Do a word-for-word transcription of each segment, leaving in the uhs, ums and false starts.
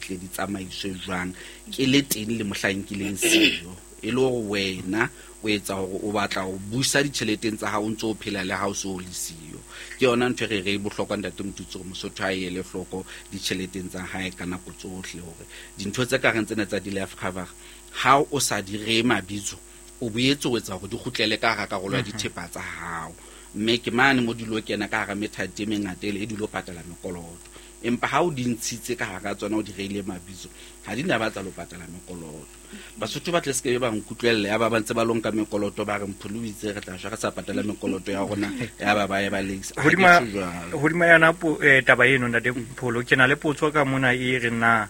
tle di tsamaiswe jwang ke le teng le mohlang ke leng siyo. E le hore wena o etsa hore o batla ho busa ditjheleteng tsa hao o ntso o phela le ha o so le siyo. Ke yona ntho e re re e bohlokwa ntate Motutsi hore Mosotho a ele hloko ditjheleteng tsa hae ka nako tsohle, hore dintho tse ka reng tsena tsa di-life cover ha o sa di ree mabitso o boetse o etsa hore di kgutlele ka hara karolo ya dithepa tsa hao. Mme ke mane mo di lo kena ka hara methati e mengata ele e di lo patala mekoloto. Empa ha o di ntshitse ka hara tsona o di reile mabitso, ha di na batla lo patala mekoloto. Basotho ba tle se ke ba nkutlwella ya ba ba ntse ba lo nka mekoloto ba re Mpholo o itse re tla shwa re sa patala mekoloto ya rona ya ba ba ye ba le ha ke Hodima tjho jwalo. hodima yona po-, eh, taba eno ntate Mpholo, ke na le potso ka mona e re na,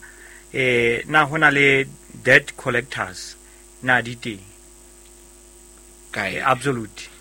eh, na hona le debt collectors na di teng? Kae? Eh, absolute.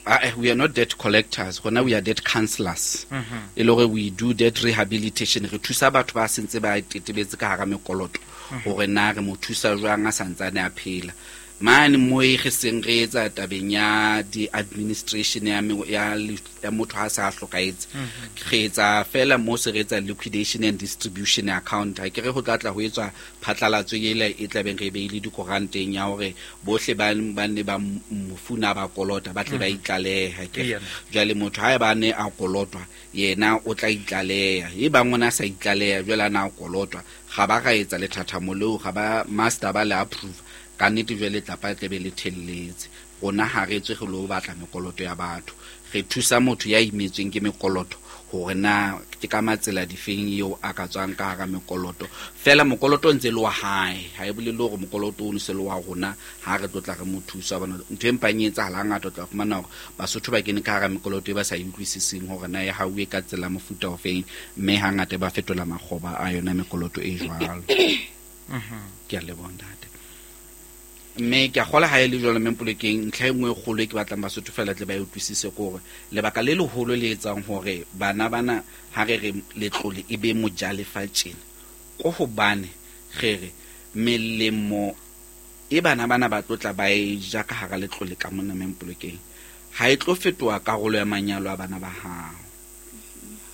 Ah, eh, we are not debt collectors, rona we are debt counselors. Mm-hmm. E le hore we do debt rehabilitation, re thusa batho ba sentse ba tetebetse ka hara mekoloto Mm-hmm. hore na re mo thusa jwang a santsane a phela. Mane mo e re seng re etsa tabeng ya di-administration ya me-, ya le-, ya motho ha sa hlokahetse. Mm-hmm. Re etsa fela mo se re etsa liquidation and distribution account. Ha ke re ho tla tla ho etswa phatlalatso ele e tla beng re beile dikoranteng ya hore bohle ba, ba ne ba mofu na ba kolota ba tle ba Mm-hmm. itlaleha. Ke Eya. jwale motho ha eba ne a kolotwa yena o tla itlaleha, e bang ona sa itlaleha jwale a na a kolotwa, ga ba ra etsa lethathamo leo, ga ba master ba le approve ka nnete jwale tlapa e tlebe le thelletse. Rona ha re tswe re lo batla mekoloto ya batho, re thusa motho ya imetsweng ke mekoloto hore na ke ka matsela difeng eo a ka tswang ka hara mekoloto. Fela mokoloto o ntse le wa hae, ha e bolele hore mokoloto o se le wa rona ha re tlo tla re mo thusa. Hobane ntho e mpang e etsahala hangata, o tla fumana hore Basotho ba kene ka hara mekoloto e ba sa e utlwisiseng hore na e hauwe ka tsela mofuta ofeng, mme hangata ba fetola makgoba a yona mekoloto e jwalo. Mhm. Ke a leboha ntate. Mme ke a kgolwa ha e le jwalo Mme Mpolokeng, ntlha e nngwe e kgolo e ke batlang Basotho fela tle ba e utlwisise ke hore lebaka le leholo le etsang hore bana bana ha re re letlole e be mojalefa tjena, ko hobane re re melemo e bana bana ba tlo tla ba e ja ka hara letlole ka mona Mme Mpolokeng, ha e tlo fetoha karolo ya manyalo a bana ba hao.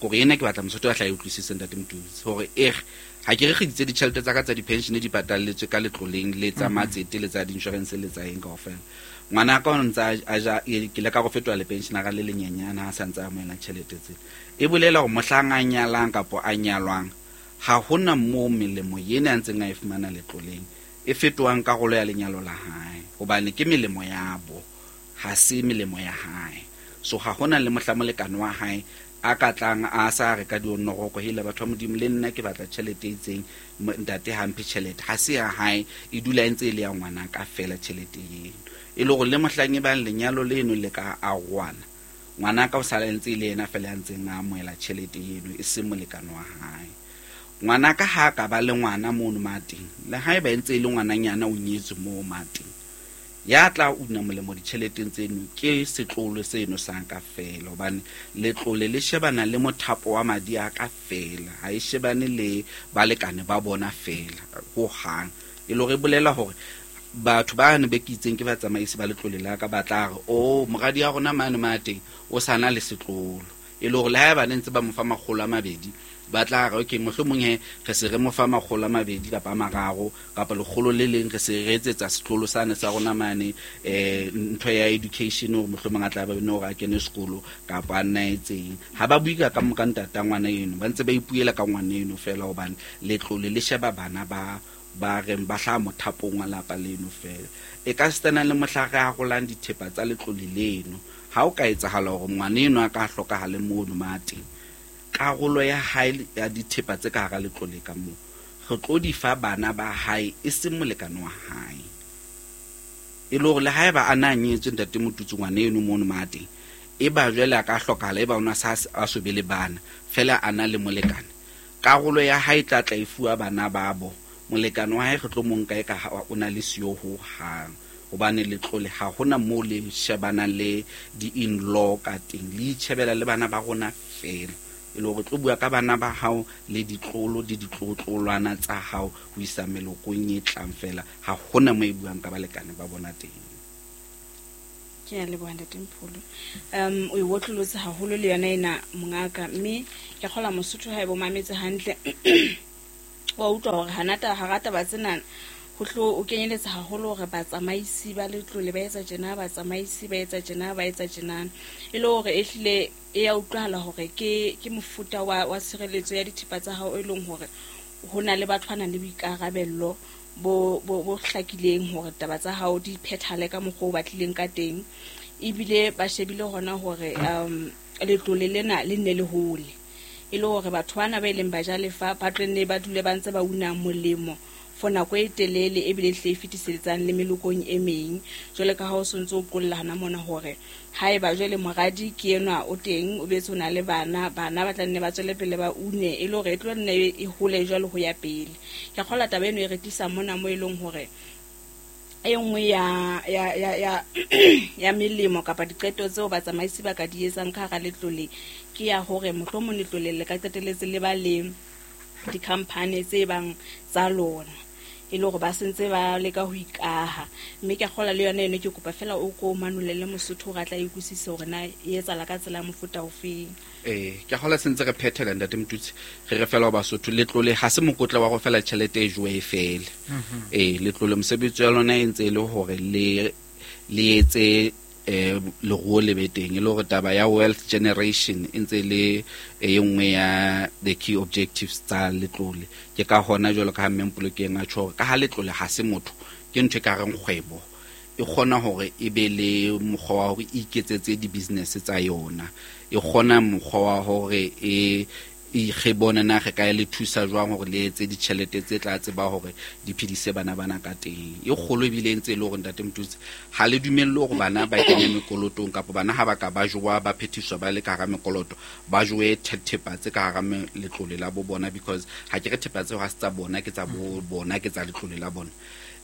Kore ena ke batla Mosotho a tla e utlwisise ntate Motutsi, hore e re ha ke re kgiditse ditjhelete tsa ka tsa di-pension di patalletswe ka letloleng le tsa Mm-hmm. matsete le tsa di-insurance le tsa eng kaofela. Ngwana ka o ntse a, a ja, e, ke ile ka go fetoha le pensionara le lenyenyane ha sa ntse a amohela tjhelete tse. E bolela hore mohlang a nyalang kapo a nyalwang, ha hona moo melemo ena a ntseng a e fumana letloleng e fetohang karolo ya lenyalo la hae, hobane ke melemo ya bo, ha se melemo ya hae. So ha hona le mohla molekane wa hae a ka tlang a sa re ka dionoroko, hele batho ba Modimo le nna ke batla tjhelete e itseng, m-, ntate ha mphe tjhelete, ha se ya hae, e dula e ntse e le ya ngwana ka fela tjhelete eno. E le hore le mohlang e bang lenyalo leno le ka arohana, ngwana ka o sala ntse e le yena fela ya ntseng a amohela tjhelete eno, e seng molekane wa hae. Ngwana ka ha ka ba le ngwana mono mateng, le haeba e ntse e le ngwananyana o nyetswe moo mateng, ya tla una molemo ditjheleteng tseno ke setlolo seno sa ka fela, hobane letlole le shebana le mothapo wa madi a ka fela, ha e shebane le balekane ba bona fela hohang. E le hore e bolela hore batho ba ne be ke itseng ke batsamaisi ba letlole la ka ba tla re, oh, moradi ya rona mane mateng o sa na le setlolo, e le hore le haeba ne ntse ba mo fa makgolo a mabedi, ba tla re okay, mohlomong he re se re mo fa makgolo a mabedi kapa a mararo kapa lekgolo le leng, re se re etsetsa setlolo sane sa rona mane, eh, ntho ya education hore mohlomong a tla ba bone hore a kene sekolo kapa a nna etseng. Ha ba bue ka ka moka ntata ngwana eno, ba ntse ba ipuela ka ngwana eno fela, hobane letlole le sheba bana ba ba reng ba hlaha mothapong wa lapa leno fela. E ka sitana le mohla re arolang dithepa tsa letlole leno, ha o ka etsahala hore ngwana eno a ka hlokahale mono mateng, karolo ya hae ya dithepa tse ka hara letlole ka moo re tlo di fa bana ba hae, e seng molekane wa hae. E le hore le haeba a na nyetswe ntate Motutsi ngwana eno mono mateng, e ba jwale a ka hlokahala, e ba ona sa a so be le bana fela a na le molekane, karolo ya hae e tla tla e fuwa bana babo. Molekane wa hae re tlo mo nka e ka ha o na le siyo hohang, hobane letlole ha hona moo le shebana le di-in-law ka teng, le itjhebela le bana ba rona fela. E le hore tlo bua ka bana ba hao le ditlolo le ditlotlolwana tsa hao ho isa melokong e tlang fela, ha hona moo e buang ka balekane ba bona teng. Ke a leboha ntate Mpholo. Um, o e wotlolotse haholo le yona ena mongaka, mme ke kgolwa Mosotho ha e bo mametse hantle. Wa utlwa hore hanata hara taba tsena ho tlo o kenyeletsa haholo hore batsamaisi ba letlole ba etsa tjena, batsamaisi ba etsa tjena, ba etsa tjena. E le hore ehlile e ya utlwahala hore ke ke mofuta wa wa tshireletso ya dithepa tsa hao e leng hore ho na le batho ba nang le boikarabello bo bo bo hlakileng hore taba tsa hao di phethale ka mokgwa o batlileng ka teng. Ebile ba shebile hona hore um letlole lena le nne le hole. E le hore batho bana ba ileng ba jalefa ba tlo nne ba dule ba ntse ba una molemo for nako e telele ebile hle e fetisetsang le melokong e meng. Jwale ka ha o sontso o qolla hana mona hore haeba jwale moradi ke enwa o teng o betse o na le bana, bana ba tla nne ba tswele pele ba une e le hore e tlo nne e hole jwale ho ya pele. Ke a kgolwa taba eno e re tlisa mona mo e leng hore e nngwe ya ya ya ya ya melemo kapa diqeto tseo batsamaisi ba ka di etsang ka hara letlole ke ya hore mohlomong letlole le ka qetelletse le ba le di-company tse bang tsa lona e le hore ba sentse ba leka ho ikaha. Mme ke a kgolwa le yona eno ke kopa fela o ko manolele Mosotho hore a tla e utlwisise hore na e etsahala ka tsela ya mofuta ofeng. Eh, ke a kgolwa sentse re phethela ntate Motutsi, re re fela ho Basotho letlole ha se mokotla wa go fela tjhelete e jowe e fele. Eh, letlole mosebetsi wa lona e ntse e le hore le le etse eh leruo le be teng, e le hore taba ya wealth generation e ntse le e nngwe ya the key objectives tsa letlole. Ke ka hona jwalo ka ha Mme Mpolokeng a tjho hore ka ha letlole ha se motho, ke ntho e ka reng kgwebo e kgona hore e be le mokgwa wa hore e iketsetse di-business tsa yona, e kgona mokgwa wa hore e re bone na re ka le thusa jwang hore le etse ditjhelete tse tla tseba hore di phedise bana bana ka teng. E kgolo ebile e ntse e le hore ntate Motutsi ha le dumelle hore bana ba kene mekolotong kapa bana ha ba ka ba jowa ba phethiswa ba le ka hara mekoloto ba jowe thepa tse ka hara letlole la bo bona, because ha ke re thepa tseo ha se tsa bona, ke tsa bo bona, ke tsa letlole la bona.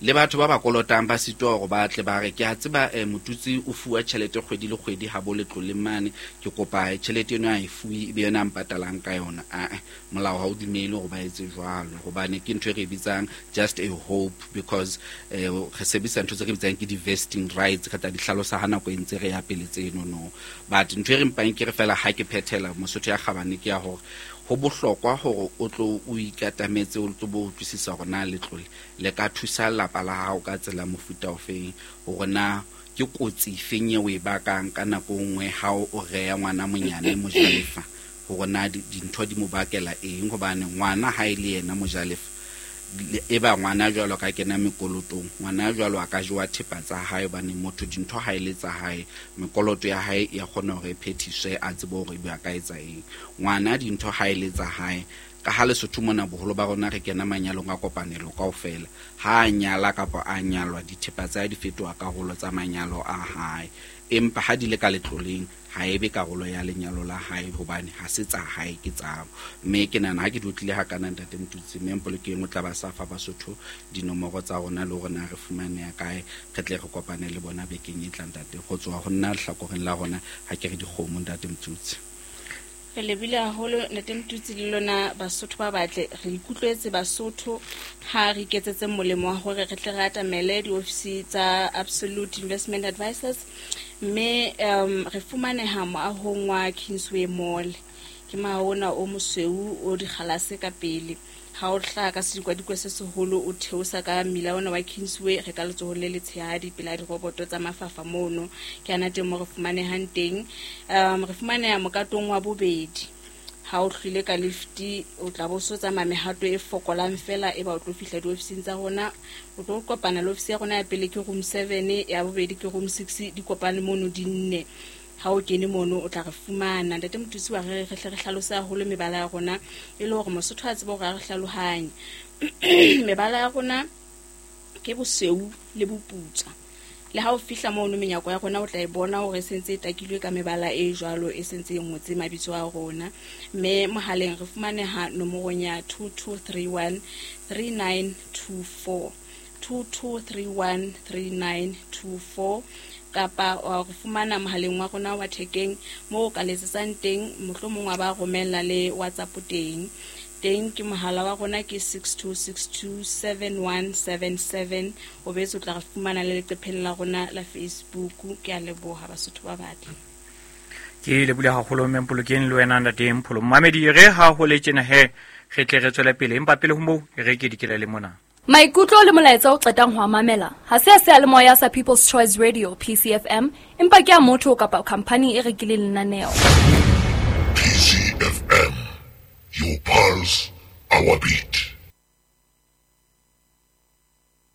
Le batho ba ba kolotang ba sitwa hore ba tle ba re ke a tseba eh, Motutsi o fuwa tjhelete kgwedi le kgwedi ha bo letlole mane, ke kopa tjhelete eno a e fuwe ebe yona a mpatalang ka yona. Ah, molao ha o dumele hore ba etse jwalo, hobane ke ntho e re bitsang just a hope, because eh, re sebedisa ntho tse re bitsang ke di-vesting rights, re tla di hlalosa ha nako e ntse re ya pele tseno no. But ntho e re mpang ke re fela ha ke phethela Mosotho ya kgabane ke ya hore ho bohlokwa hore o tlo o ikatametse o tlo bo utlwisisa hore na letlole le ka thusa lapa la hao ka tsela mofuta ofeng, hore na ke kotsi efeng eo e bakang ka nako nngwe ha o reya ngwana monyane mojalefa, hore na dintho di mo bakela eng, hobane ngwana ha e le yena mojalefa e ba ngwana jwalo ka kena mekolotong, ngwana jwalo a ka jowa thepa tsa hae, hobane motho dintho ha e le tsa hae, mekoloto ya hae ya kgona hore e phethiswe a tsebe hore ebe a ka etsa eng. Ngwana dintho ha e le tsa hae, ka ha Lesotho mona boholo ba rona re kena manyalong a kopanelo kaofela, ha a nyala kapa a nyalwa dithepa tsa hae di fetoha karolo tsa manyalo a hae, empa ha di le ka letloleng ha ebe karolo ya lenyalo la hae, hobane ha se tsa hae ke tsa. Mme ke nahana ha ke di utlwile hakana ntate Motutsi, mme Mpolokeng o tla ba sa fa Basotho dinomoro tsa rona le hore na re fumaneha kae, re tle re kopane le bona bekeng e tlang ntate. Ho tswa ho nna lehlakoreng la rona ha ke re dikgomo ntate Motutsi. Re lebile haholo ntate Motutsi le lona Basotho ba batle, re ikutlwetse Basotho ha re iketsetse molemo wa hore re tle re atamele diofisi tsa Absolute Investment Advisors, mme um re fumaneha moahong wa Kingsway Mall, ke moaho ona o mosweu o dikgalase ka pele. Ha o hlaha ka sedikwadikwe se seholo o theosa ka mmila ona wa Kingsway, re ka letsohong le letshehadi pela diroboto tsa mafafa mono, ke ana teng mo re fumanehang teng. Um re fumaneha mokatong wa bobedi. Ha o hlwile ka lifti o tla bo so tsamaya mehato e fokolang fela e ba o tlo fihla diofising tsa rona. O tlo kopana le ofisi ya rona ya pele ke room seven, ya bobedi ke room six, di kopane mono di nne. Ha o kene mono o tla re fumana. Ntate Motutsi wa re re hle re hlalose haholo mebala ya rona e le hore Mosotho a tsebe hore a re hlalohanye. Mebala ya rona ke bosweu le boputswa. Le ha o fihla mono menyako ya rona o tla e bona hore e sentse e takilwe ka mebala e jwalo, e sentse e ngotse mabitso a rona. Mme mohaleng re fumaneha nomorong ya two two three one three nine two four, two two three one three nine two four, kapa wa re fumana mohaleng wa rona wa thekeng moo o ka letsetsang teng, mohlomong wa ba romella le WhatsApp teng. Teng ke mohala wa rona ke six two six two seven one seven seven. O betse o tla re fumana le leqepheng la rona la Facebook. Ke a leboha Basotho ba batle. Ke lebohile haholo Mme Mpolokeng le wena ntate Mpholo. Mmamedi re ha ho le tjena he Re tle re tswele pele, empa pele ho moo re ke dikela le mona. Maikutlo le molaetsa o qetang ho mamela ha se a seyalemoya sa People's Choice Radio P C F M, empa ke a motho kapa company e rekileng lenaneo. P C F M, your pulse, our beat.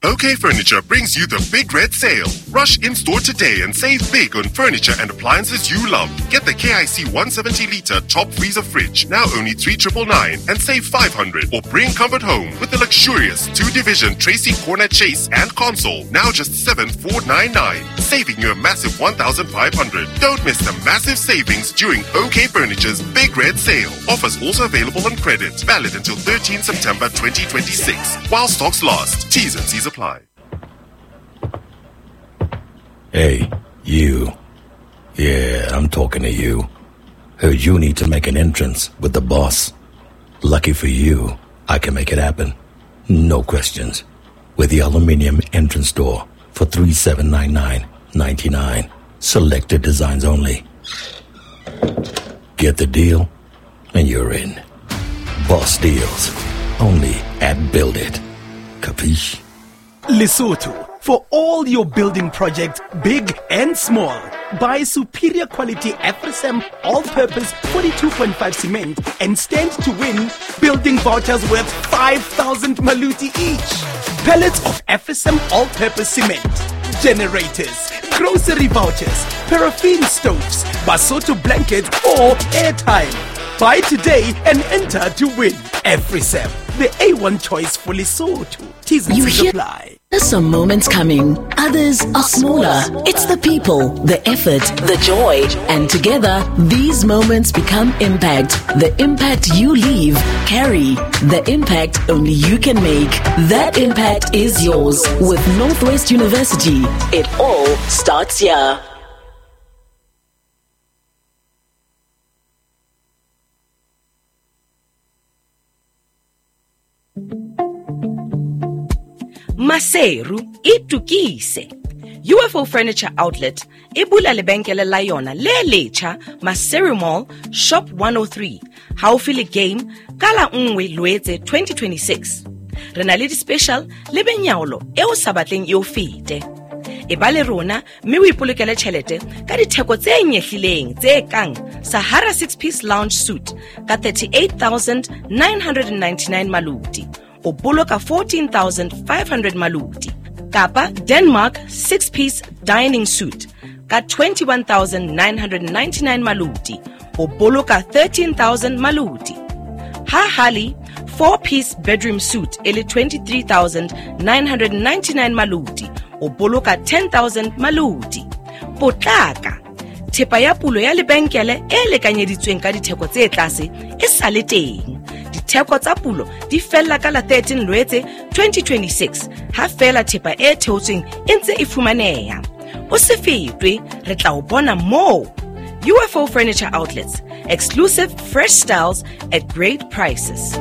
OK Furniture brings you the Big Red Sale. Rush in-store today and save big on furniture and appliances you love. Get the K I C one seventy litre top freezer fridge, now only three triple nine, and save five hundred. Or bring comfort home with the luxurious two-division Tracy Corner Chase and console, now just seven four nine nine, saving you a massive one thousand five hundred. Don't miss the massive savings during OK Furniture's Big Red Sale. Offers also available on credit. Valid until thirteenth September twenty twenty-six. While stocks last. T's and C's apply. Hey, you. Yeah, I'm talking to you. Heard you need to make an entrance with the boss. Lucky for you, I can make it happen. No questions. With the aluminium entrance door for three seven nine nine ninety-nine. Selected designs only. Get the deal, and you're in. Boss deals. Only at Build It. Capiche? Lesotho, for all your building projects, big and small. Buy superior quality Afrisam all-purpose forty-two point five cement and stand to win building vouchers worth five thousand maluti each. Pallets of Afrisam all-purpose cement, generators, grocery vouchers, paraffin stoves, Basotho blankets or airtime. Buy today and enter to win. Afrisam, the A one choice for Lesotho. T's and C's apply. Some moments coming, others are smaller. It's the people, the effort, the joy, and together, these moments become impact. The impact you leave, carry. The impact only you can make. That impact is yours with Northwest University. It all starts here. Maseru itukise. U F O Furniture Outlet e bula lebenkele la yona le letjha Maseru Mall Shop one oh three haufi le Game ka la nngwe Loetse twenty twenty-six. Re na le di-special le benyaolo e o sa batleng e o fete. E ba le rona mme o ipolokele tjhelete ka ditheko tse nyehlileng tse kang Sahara six-piece lounge suite ka thirty-eight thousand nine hundred ninety-nine maluti, o boloka fourteen thousand five hundred maluti, kapa Denmark six-piece dining suite ka twenty-one thousand nine hundred ninety-nine maluti, o boloka thirteen thousand maluti. Ha Hali four-piece bedroom suite e le twenty-three thousand nine hundred ninety-nine maluti, o boloka ten thousand maluti. Potlaka, thepa ya pulo ya lebenkele e lekanyeditsweng ka ditheko tse tlase e sa le teng. Ditheko tsa pulo di fella ka la thirteen Loetse twenty twenty-six, ha fela thepa e theotsweng e ntse e fumaneha. O se fetwe, re tla o bona moo. U F O Furniture Outlets, exclusive fresh styles at great prices.